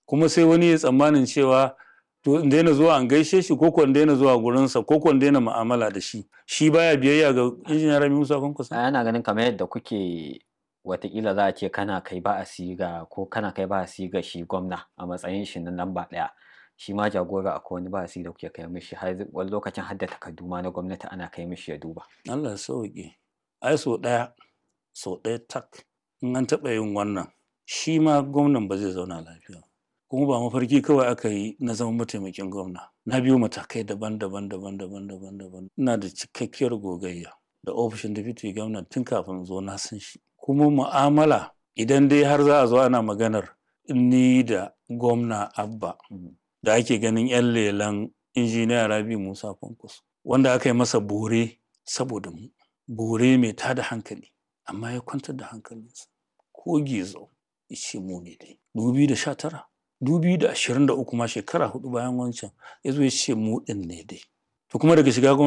Kuma sai wani ya tsammanin cewa to in daina zuwa an gaishe shi, ko in daina zuwa gurinsa, ko in daina mu'amala da shi. Shi baya biyayya ga Injiniya Rabi Musa Kwankwaso. Ana ganin kamar yadda kuke, watakila za a ce kana kai ba'asi ga, ko kana kai ba'asi ga shi gwamna a matsayin shi na lamba ɗaya, shi ma jagora akwai wani ba'asi da kuke kai mishi, har wani lokacin har da takardu ma na gwamnati ana kai mishi ya duba. Allah ya sauke. Ai sau ɗaya, sau ɗaya tak, in an taɓa yin wannan, shi ma gwamnan ba zai zauna lafiya. Kuma ba mafarki kawai aka yi na zama mataimakin gwamna. Na biyo matakai daban-daban, daban-daban, daban-daban. Ina da cikakkiyar gogayya da ofishin deputy gwamna tun kafin zo, na san shi. Kuma mu'amala, idan dai har za a zo ana maganar ni da gwamna Abba da ake ganin 'yan lelan Injiniya Rabi Musa Kwankwaso, wanda aka yi masa bore saboda mu, bore mai tada hankali, amma ya kwantar da hankalinsa, ko gizo ce mu ne dai. 2019, 2023 ma, shekara 4 bayan wancan, ya zo ya ce mu ɗin ne dai. To kuma daga shiga gwamnati